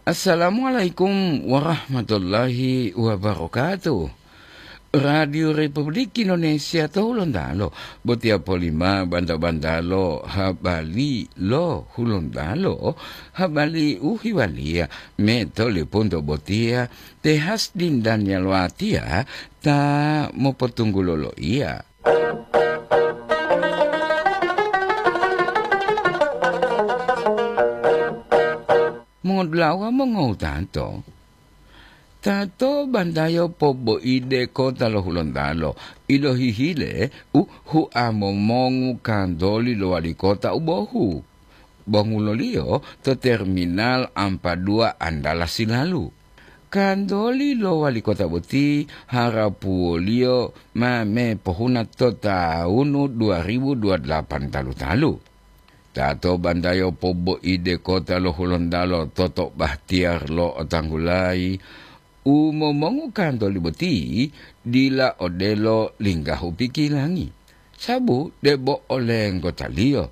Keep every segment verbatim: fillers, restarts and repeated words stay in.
Assalamualaikum warahmatullahi wabarakatuh. Radio Republik Indonesia to Hulontalo, botiya polima banta-bantalo habari lo Hulontalo, habari u hiwaliya me to lipunto botiya te Hasdin Daniel Watiya ta mopotunggulo loiya. Mongodulawa mongowutato, tato bantayo poboide kota lo Hulontalo, ilohihile u hua momongu kantoli lo wali kota u bohu. Bonguloliyo to terminal Ampadua Andala Silalu. Kantoli lo wali kota boti harapuwoliyo ma me pohuna to tawunu dua ribu dua delapan talu-talu. Tato bantayo poboide kota lo Hulontalo toto bahtiyar lo otanggulayi, u momongu kantoli boti dila odelo linggahu pikilangi, sabu debo olenggotaliyo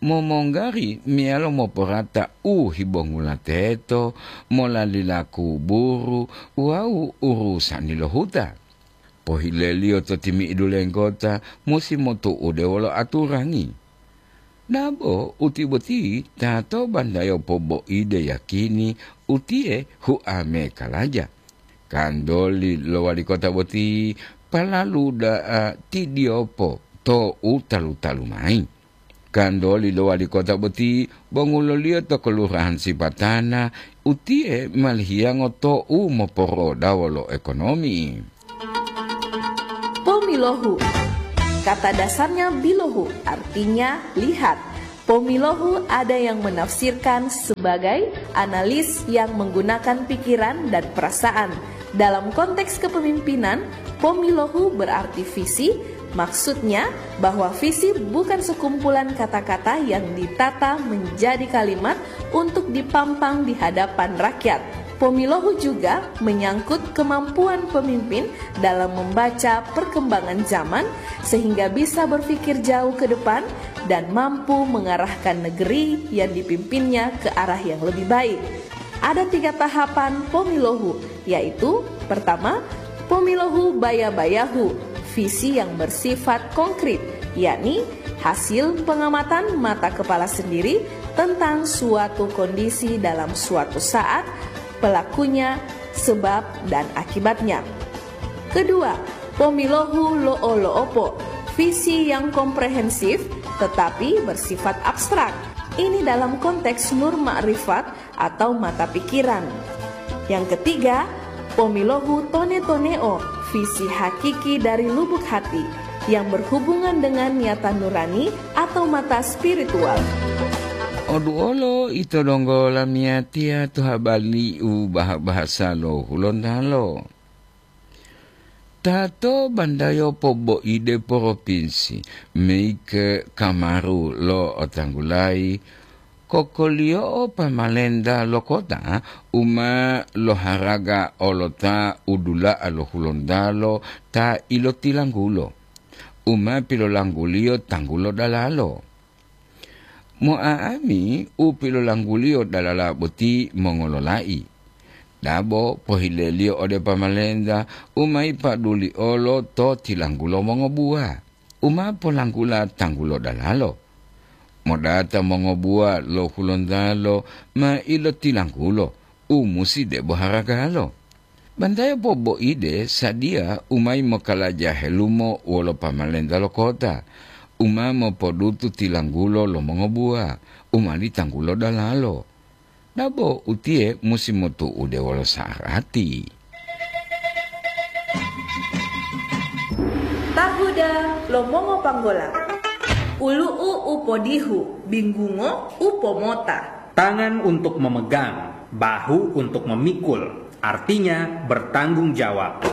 momonggari meyalo moporata u hibongula teto, molalila kuburu wawu urusani lo huta. Pohileliyo to timi'idu lenggota musi motu'ude wolo aturangi. Dabo uti boti tato bantayo poboide yakini utiye huame kalaja. Kantoli lo wali kota boti palalu da'a tidiyopo to u talu-talu mayi. Kantoli lo wali kota boti bonguloliyo to Kelurahan Sipatana, utiye malihiyango to u moporodawo lo ekonomi. Pomilohu. Kata dasarnya bilohu, artinya lihat. Pomilohu ada yang menafsirkan sebagai analis yang menggunakan pikiran dan perasaan. Dalam konteks kepemimpinan, pomilohu berarti visi, maksudnya bahwa visi bukan sekumpulan kata-kata yang ditata menjadi kalimat untuk dipampang di hadapan rakyat. Pomilohu juga menyangkut kemampuan pemimpin dalam membaca perkembangan zaman sehingga bisa berpikir jauh ke depan dan mampu mengarahkan negeri yang dipimpinnya ke arah yang lebih baik. Ada tiga tahapan pomilohu, yaitu pertama, pomilohu baya-bayahu, visi yang bersifat konkret, yakni hasil pengamatan mata kepala sendiri tentang suatu kondisi dalam suatu saat, pelakunya, sebab, dan akibatnya. Kedua, pomilohu lo'o-lo'opo, visi yang komprehensif tetapi bersifat abstrak. Ini dalam konteks nur makrifat atau mata pikiran. Yang ketiga, pomilohu tone-toneo, visi hakiki dari lubuk hati yang berhubungan dengan niatan nurani atau mata spiritual. Oduolo ito donggo lamiyatiya to habari u baha-bahasa lo Hulontalo. Tato bandayo poboide poropinsi, meike kamaru lo otanggulayi, kokoliyo'o pamalenta lo kota u ma loharaga olota u dula'a lo Hulontalo ta ilotilanggulo, u ma pilolangguliyo tanggulo dalalo. Mo'a'ami u pilolangguliyo dalala boti mongololai. Dabo pohileliyo ode pamalenta u ma yipaduli olo to tilanggulo mongobuwa, u ma polanggula tanggulo dalalo. Modata mongobuwa lo Hulontalo ma ilotilanggulo u musi debo haragalo. Bantayo poboide sadiya u ma yimokalaja helumo wolo pamalenta lo kota, u ma mopodutu tilanggulo lo mongobuwa, u ma ditanggulo dalalo. Dabo utiye musi motu'ude wolo sa'arati. Tahuda lo mongopanggola. Ulu'u u podihu, binggungo u pomota. Tangan untuk memegang, bahu untuk memikul, artinya bertanggung jawab.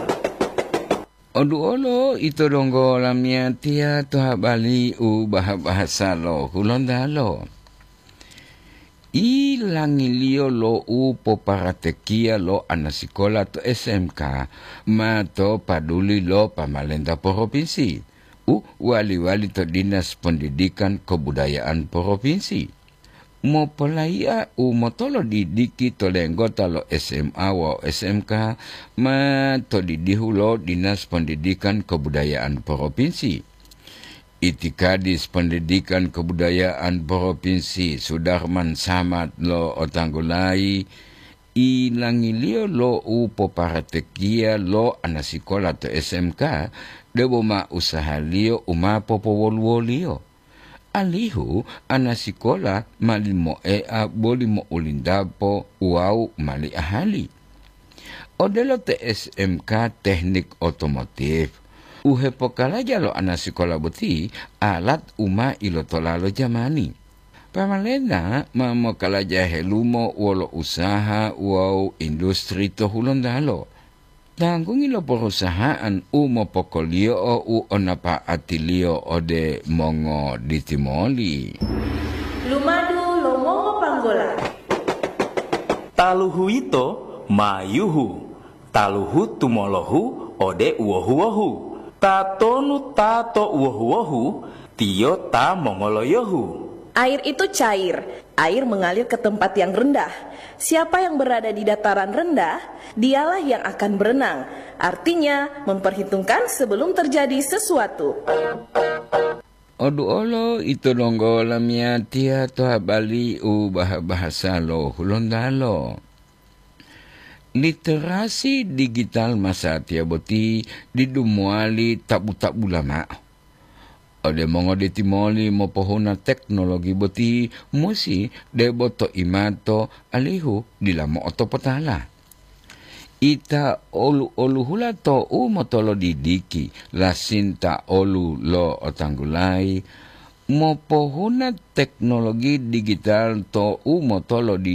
Oduolo ito donggo lamiyatiya to habari u baha-bahasa lo Hulontalo. Ilangiliyo lo u poparatekiya lo anasikola to S M K ma to paduli lo pamalenta poropinsi, u wali-wali to Dinas Pendidikan Kebudayaan Poropinsi. Mopolayi'a u motolodidiki to lenggota lo S M A wawu S M K ma to didihu lo Dinas Pendidikan Kebudayaan Provinsi. Itikadis Pendidikan Kebudayaan Provinsi Sudarman Samad lo otanggulayi, ilangiliyo lo u poparatekiya lo anasikola to S M K debo ma usahaliyo u ma popowoluwoliyo, alihu anasikola ma limoea boli mo'ulindapo wawu mali ahali. Odelo te S M K Teknik Otomotif, u hepokalaja lo anasikola boti alat u ma ilotola lo jamani. Pamalena ma mokalaja helumo wolo usaha wawu industri to Hulontalo. Tanggungi lo perusahaan u mopokoliyo'o u o napa'atiliyo ode mongoditimoli. Lumadu lo mongopanggola. Taluhu yito ma yuhu, taluhu tumolohu ode uwohu-wohu. Tatonu ta to uwohu-wohu, tiyo ta mongoloyohu. Air itu cair, air mengalir ke tempat yang rendah. Siapa yang berada di dataran rendah, dialah yang akan berenang. Artinya, memperhitungkan sebelum terjadi sesuatu. Oduolo ito donggo lamiyatiya to habari u baha-bahasa lo Hulontalo. Literasi digital masatiya boti didu mowali tabu-tabula mao. Ode mongoditimoli mopohuna teknologi boti musi debo to imato alihu dila mo'otopotala. Ita olu-oluhula to u motolodidiki, lasinta olu lo otanggulayi, mopohuna teknologi digital to u motolodi-